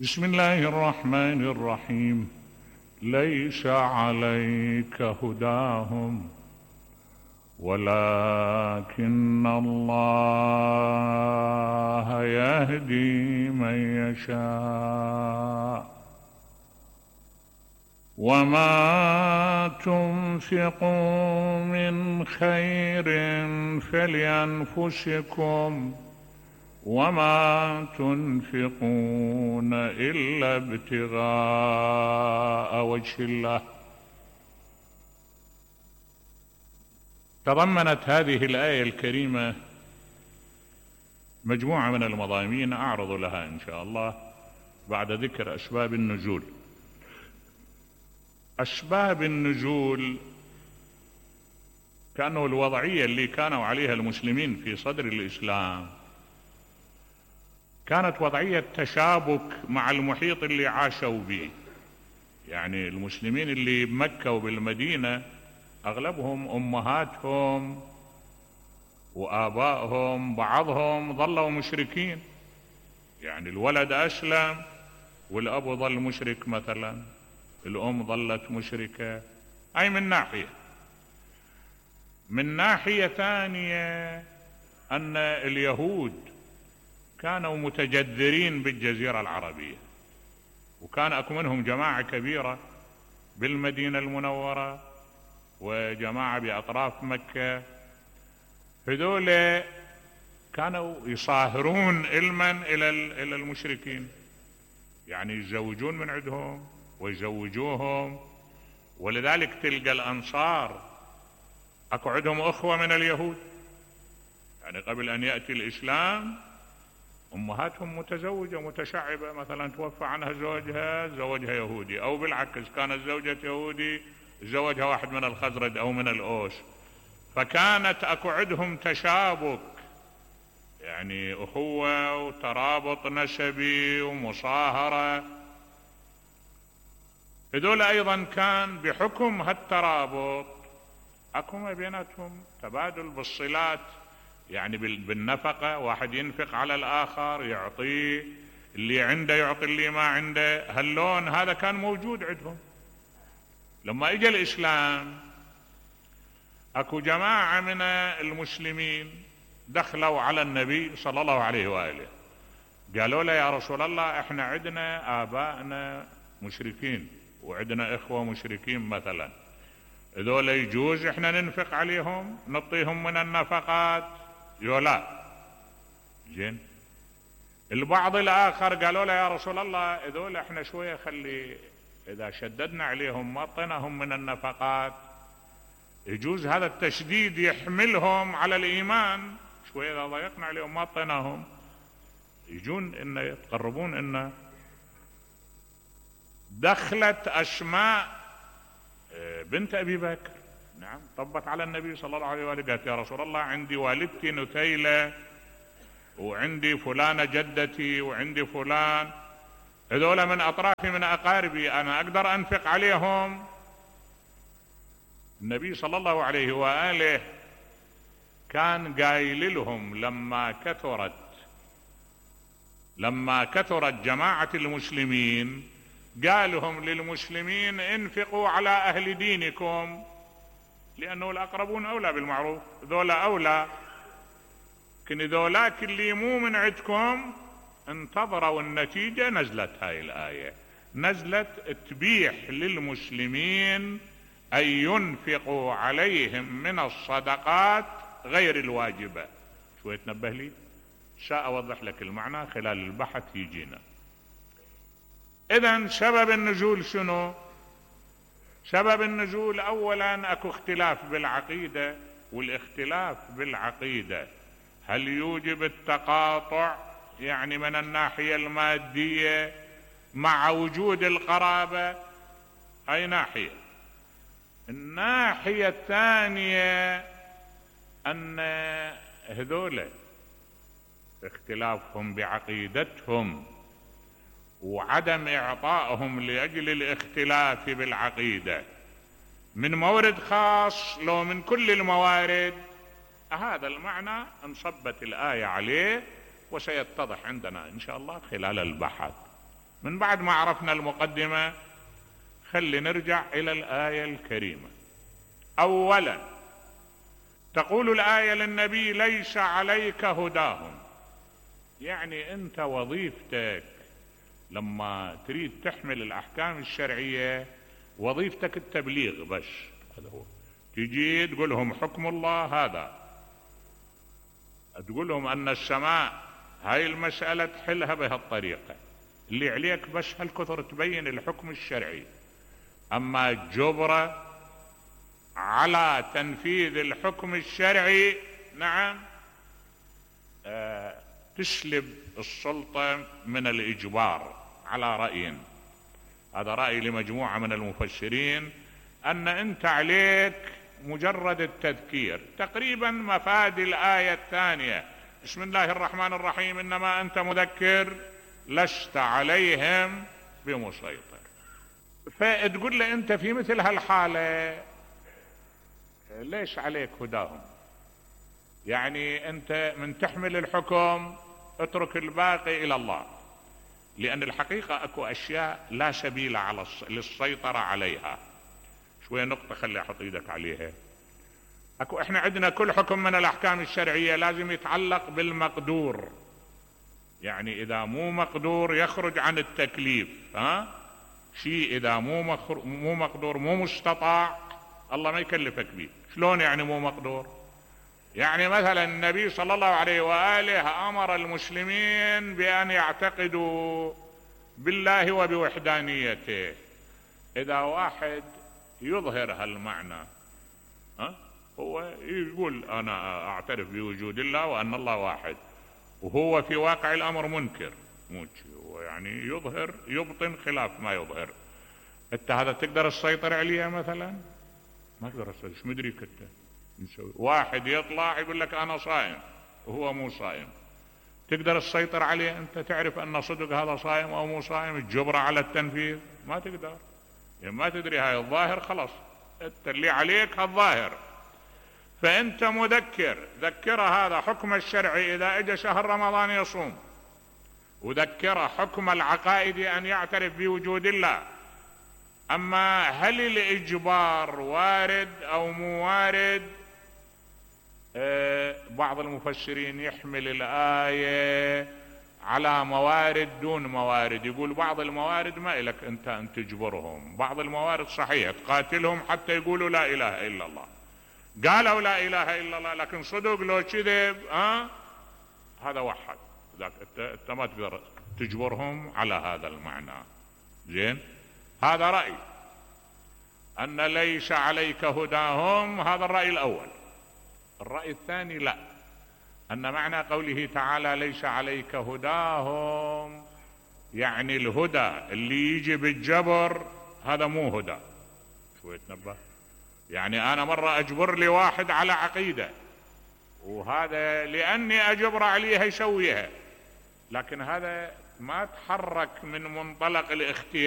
بسم الله الرحمن الرحيم. ليس عليك هداهم ولكن الله يهدي من يشاء وما تنفقوا من خير فلأنفسكم وما تنفقون إلا ابتغاء وجه الله. تضمنت هذه الآية الكريمة مجموعة من المضامين أعرض لها إن شاء الله بعد ذكر أسباب النزول. أسباب النزول كانوا الوضعية اللي كانوا عليها المسلمين في صدر الإسلام كانت وضعية تشابك مع المحيط اللي عاشوا به. يعني المسلمين اللي بمكة وبالمدينة أغلبهم أمهاتهم وآبائهم بعضهم ظلوا مشركين، يعني الولد أسلم والأب ظل مشرك مثلا، الأم ظلت مشركة. أي من ناحية. من ناحية ثانية أن اليهود كانوا متجذرين بالجزيرة العربية، وكان أكو منهم جماعة كبيرة بالمدينة المنورة وجماعة بأطراف مكة. هذول كانوا يصاهرون علما إلى المشركين، يعني يتزوجون من عندهم ويزوجوهم. ولذلك تلقى الأنصار أكو عندهم أخوة من اليهود، يعني قبل أن يأتي الإسلام أمهاتهم متزوجة متشعبة، مثلا توفى عنها زوجها زوجها يهودي، أو بالعكس كانت زوجة يهودي زوجها واحد من الخزرج أو من الأوس. فكانت أكو عندهم تشابك، يعني أخوة وترابط نسبي ومصاهرة. هذول أيضا كان بحكم هالترابط أكو ما بيناتهم تبادل بالصلات، يعني بالنفقة، واحد ينفق على الآخر، يعطيه، اللي عنده يعطي اللي ما عنده. هاللون هذا كان موجود عندهم. لما اجى الإسلام اكو جماعة من المسلمين دخلوا على النبي صلى الله عليه وآله، قالوا له يا رسول الله احنا عندنا آبائنا مشركين وعندنا إخوة مشركين مثلا، هذول يجوز احنا ننفق عليهم نعطيهم من النفقات؟ لا. زين. البعض الآخر قالوا له يا رسول الله هذول احنا شوية خلي إذا شددنا عليهم ما اعطيناهم من النفقات يجوز هذا التشديد يحملهم على الإيمان، شوية إذا ضيقنا عليهم ما اعطيناهم يجون إن يتقربون. إن دخلت أسماء بنت أبي بكر، نعم، طبت على النبي صلى الله عليه وآله، قالت يا رسول الله عندي والدتي نتيلة وعندي فلانة جدتي وعندي فلان، هذول من أطرافي من أقاربي، أنا أقدر أنفق عليهم؟ النبي صلى الله عليه وآله كان قايل لهم لما كثرت جماعة المسلمين قالهم للمسلمين انفقوا على أهل دينكم، لأنه الأقربون أولى بالمعروف، ذولا أولى، لكن ذولاك اللي مو من عندكم انتظروا النتيجة. نزلت هاي الآية، نزلت تبيح للمسلمين أن ينفقوا عليهم من الصدقات غير الواجبة. شوية تنبه لي، سأوضح لك المعنى خلال البحث يجينا. إذن سبب النزول شنو؟ سبب النزول أولا أكو اختلاف بالعقيدة، والاختلاف بالعقيدة هل يوجب التقاطع يعني من الناحية المادية مع وجود القرابة؟ أي ناحية. الناحية الثانية أن هذول اختلافهم بعقيدتهم وعدم إعطائهم لأجل الاختلاف بالعقيدة من مورد خاص لو من كل الموارد، هذا المعنى انصبت الآية عليه وسيتضح عندنا إن شاء الله خلال البحث. من بعد ما عرفنا المقدمة خلي نرجع إلى الآية الكريمة. أولا تقول الآية للنبي: ليس عليك هداهم. يعني أنت وظيفتك لما تريد تحمل الأحكام الشرعية وظيفتك التبليغ بس. هذا هو، تجي تقول لهم حكم الله هذا، تقول لهم أن السماء هاي المسألة تحلها بهالطريقة، اللي عليك بس هالكثر تبين الحكم الشرعي. أما جبرة على تنفيذ الحكم الشرعي، نعم، تسلب السلطة من الإجبار على رأي. هذا رأي لمجموعة من المفسرين، أن أنت عليك مجرد التذكير. تقريبا مفاد الآية الثانية: بسم الله الرحمن الرحيم، إنما أنت مذكر لست عليهم بمسيطر. فتقول له أنت في مثل هالحالة ليش عليك هداهم؟ يعني أنت من تحمل الحكم اترك الباقي إلى الله، لأن الحقيقة أكو أشياء لا سبيل للسيطرة عليها. شوية نقطة خلي أحط إيدك عليها. إحنا عندنا كل حكم من الأحكام الشرعية لازم يتعلق بالمقدور، يعني إذا مو مقدور يخرج عن التكليف. شيء إذا مو مقدور، مو مستطاع، الله ما يكلفك به. شلون يعني مو مقدور؟ يعني مثلا النبي صلى الله عليه وآله أمر المسلمين بأن يعتقدوا بالله وبوحدانيته. إذا واحد يظهر هالمعنى، هو يقول أنا أعترف بوجود الله وأن الله واحد، وهو في واقع الأمر منكر، هو يعني يظهر يبطن خلاف ما يظهر. انت هذا تقدر تسيطر عليه؟ مثلا ما تقدر تسيطر. شو مدريك انت نسوي؟ واحد يطلع يقول لك أنا صائم وهو مو صائم، تقدر تسيطر عليه؟ انت تعرف أن صدق هذا صائم أو مو صائم؟ الجبرة على التنفيذ ما تقدر، يعني ما تدري. هاي الظاهر خلاص، انت اللي عليك هالظاهر. فانت مذكر، ذكره هذا حكم الشرعي إذا اجى شهر رمضان يصوم، وذكره حكم العقائد أن يعترف بوجود الله. أما هل الإجبار وارد أو مو وارد؟ بعض المفسرين يحمل الآية على موارد دون موارد، يقول بعض الموارد ما إلك أنت أن تجبرهم، بعض الموارد صحيح تقاتلهم حتى يقولوا لا إله إلا الله. قالوا لا إله إلا الله لكن صدق لو كذب هذا وحد، ذاك انت ما تقدر تجبرهم على هذا المعنى. زين، هذا رأي أن ليس عليك هداهم، هذا الرأي الأول. الرأي الثاني لا، أن معنى قوله تعالى ليس عليك هداهم يعني الهدى اللي يجي بالجبر هذا مو هدى. شوية تنبه، يعني أنا مرة أجبر لي واحد على عقيدة، وهذا لأني أجبر عليها يسويها، لكن هذا ما تحرك من منطلق الاختيار.